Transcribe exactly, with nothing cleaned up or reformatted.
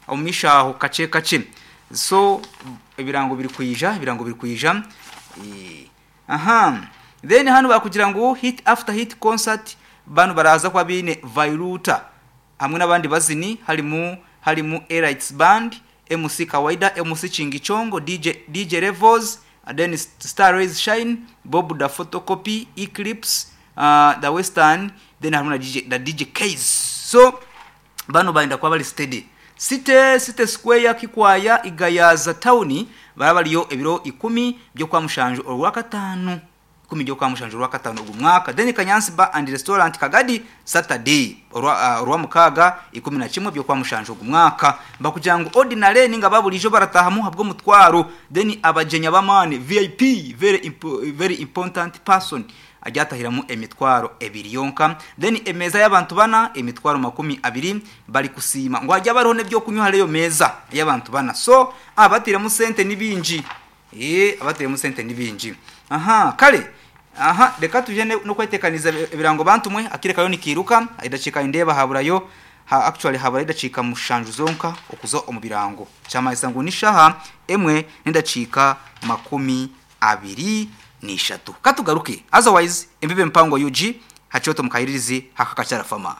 Omu maisho aho kakye kakye. So ebirango biri kwija, ebirango biri kwija. Eh, aha. Then hanu bakugira ngu hit after hit concert, banu baraza kuba biine Vairuta hamwe n'abandi bazini, harimu harimu Elites Band, M C Kawaida, M C Chingichongo, D J D J Levels, then Star Rays Shine, Bob the Photocopy, Eclipse, uh, the Western, then harimu na D J, na D J Case. So bano baenda kuba bari steady. City City Square, Kikwaya, Igayaza Town, baraba bariyo ebiro ikumi byo kwa mushanju orwakatano, ikumi byo kwa mushanju orwakatano ogu mwaka. Then Kanyansi Bar and Restaurant, Kagadi, Saturday orwa uh, orwa mukaga, ikumi na kimwe byo kwa mushanju ogu mwaka. Bakugira ngu ordinary ninga babulijo baratahamu habwo mutwaro, then abagenya b'amaani, V I P, very impo, very important person, ajyatahiramu emitwaro ebiri yonka. Then emeza y'abantu bana, emitwaro makumi abiri. Bari kusiima ngo hajya bariho n'ebyo kunywa hariyo meza y'abantu bana. So abatiremu sente ni bingi, eh abatiremu sente ni bingi. Aha, kale aha, reka tuje no kwetekaniza ebirango. Bantu mwe, akire kayo nikiruka, idacika indeba haburayo ha, actually habura idacika mushanju zonka okuza omu birango. Kyamanyisa ngu nishaha emwe n'endacika makumi abiri n'ishatu. Katugaruke, otherwise embibe mpango U G hakyoto mukayiririzi hakakacyara fama.